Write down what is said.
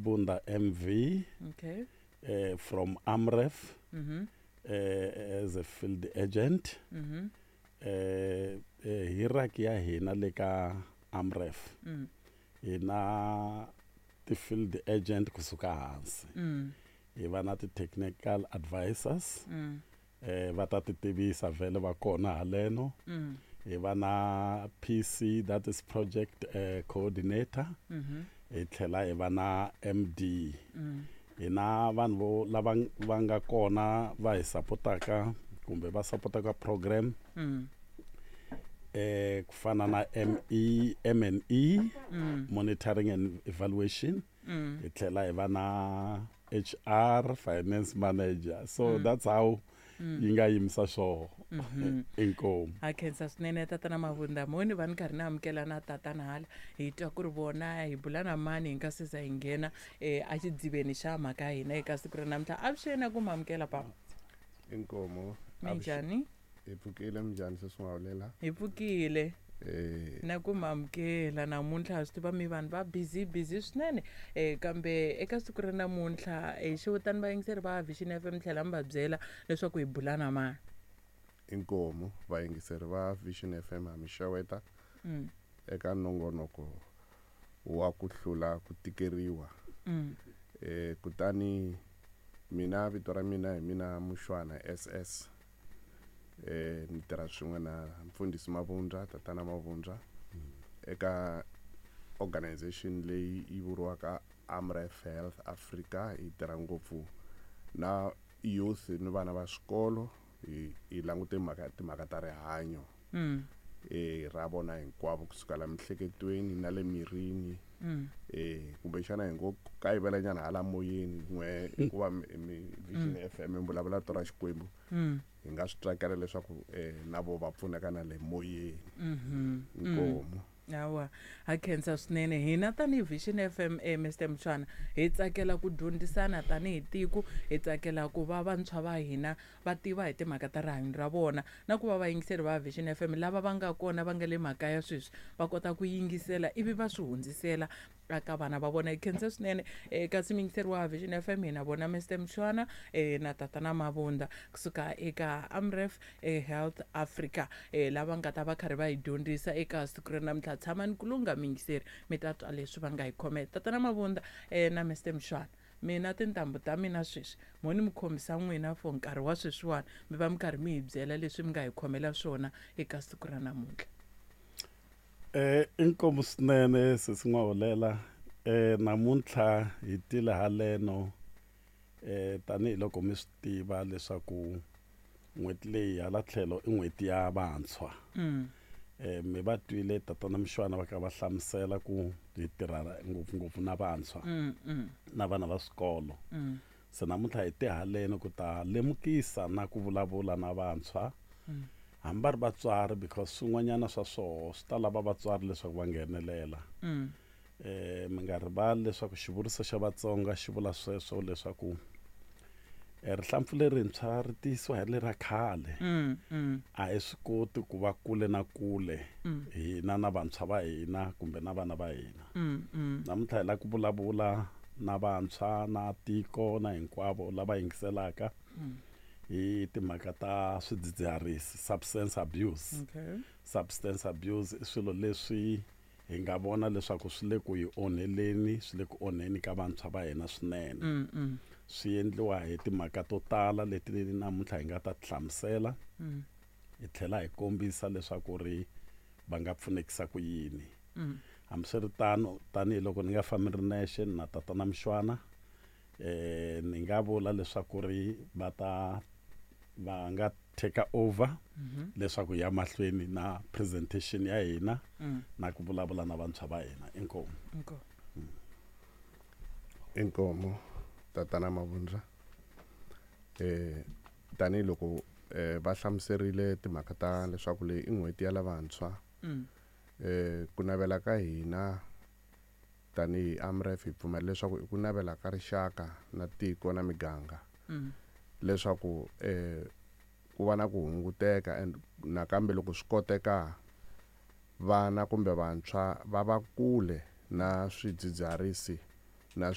Mabunda MV. Okay. From AMREF. As a field agent. Hierarchy ya hina le ka AMREF. Hina ti-field agent kusuka hansi. Hi va na ti-technical advisors. Va ta ti tivisa vhele va kona haleno. Hi va na PC, that is project coordinator. Hi tlhela hi va na MD. Hi na vanhu vo lava va nga kona va hi sapotaka kumbe va sapotaka program. Ku fana na ME, M&E, monitoring and evaluation. Hi tlhela hi va na HR, finance manager. So that's how yi nga yimisa swoho. Inkomu. Ha khensa swinene, Tatana Mavunda. Moni va ni karhi ni amukela na tatana hala, hi twa ku ri vona hi bula na mani hi nga se za hi nghena a xidziveni xa mhaka ya hina eka siku ra namuntlha. Avuxeni, ku ma amukela papa. Inkomo. Minjhani? Hi pfukile, minjhani sesingawulela? Hi pfukile. Na ku ma amukela namuntlha, swi tiva mi vanhu va busy busy swinene, kambe eka siku ra namuntlha xewetani vayingiseri va Vision FM, tlhela mi va byela leswaku hi bula na mani. Inkomo, vayingiseri va Vision FM, ha mi xeweta eka nongonoko wa ku hlula ku tikeriwa. Kutani mina vito ra mina hi mina Mushwana SS. Ni tirha swin'we na Mfundhisi Mavundza, Tatana Mavundza, eka organization leyi yi vuriwaka AMREF Health Africa. Hi tirha ngopfu na youth ni vana va swikolo, hi langute mhaka timhaka ta rihanyo ra vona hinkwavo, kusukela miehleketweni na le mirini. Kumbexana hi ngo kayivela nyana hala moyeni n'we, hikuva mi Vision FM mi vulavula to ra Xikwembu. Hi nga swi tsakela leswaku na vo va pfuneka na le moyeni. Inkomu. Hawa, ha khensa swinene. Hina tanihi Vision FM, Mr Mshwana, hi tsakela ku dyondzisana tanihi tiko, hi tsakela ku va vantshwa va hina va tiva hi timhaka ta rihanyo ra vona, na ku va vayingiseri va Vision FM lava va nga kona va nga le makaya sweswi va kota ku yingisela ivi va swi hundzisela eka vana va vona. Hi khensa swinene. Kasi muyingiseri wa Vision FM, hina vona Mr Mshwana na Tatana Mavunda kusuka eka AMREF Health Africa, lava nga ta va karhi va hi dyondzisa eka siku ra namuntlha. Tshamani ku lungha, muyingiseri, mi ta twa leswi va nga hi khomela. Tatana Mavunda na Mr Mshwana, mina tintambu ta mina sweswi mo ni mi khomisa n'wina for nkarhi wa sweswiwani, mi va mi karhi mi hi byela leswi mi nga hi khomela swona eka siku ra namuntlha. Inkomu swinene, sesi N'waholela. Namuntlha hi tile haleno tanihiloko mi swi tiva leswaku n'hweti leyi hala tlhelo i n'hweti ya vantshwa. Mi va twile Tatana Mshwana va kha va hlamusela ku hi tirha ngopfungopfu na vantshwa na vana va swikolo. Se namuntlha hi te haleni ku ta lemukisa na ku vulavula na vantshwa, hambi va ri vatswari, because swin'wanyana swa swoho swi ta lava vatswari leswaku va nghenelela. Mi nga rivali leswaku xivuriso xa Vatsonga xi vula sweswo leswaku rihlampfu lerintshwa ri tiyisiwa hi lera khale. A hi swi koti ku va kule na kule hina na vantshwa va hina kumbe na vana va hina. Namuntlha hi lava ku vulavula na vantshwa na tiko na hinkwavo lava yingiselaka hi timhaka ta swidzidziharisi, substance abuse. Substance abuse i swilo leswi hi nga vona leswaku swi le ku hi onheleni, swi le ku onheni ka vantshwa va hina swinene. Swi endliwa hi timhaka to tala leti namuntlha hi nga ta ti hlamusela, hi tlhela hi kombisa leswaku ri va nga pfunekisa ku yini. Hambiswiritano, tanihiloko ni nga fambi ri nexe na Tatana Mshwana, ni nga vula leswaku ri va ta va nga take over leswaku ya mahlweni na presentation ya hina na ku vulavula na vantshwa va hina. Inkomu. Inkomu. Inkomu, Tatana Mavundza. Tanihiloko va hlamuserile timhaka ta leswaku leyi i n'hweti ya lavantshwa, ku navela ka hina tanihi AMREF, hi pfumela leswaku i ku navela ka rixaka na tiko na miganga leswaku ku va na ku hunguteka, and nakambe loko swi koteka vana kumbe vantshwa va va kule na swidzidziharisi na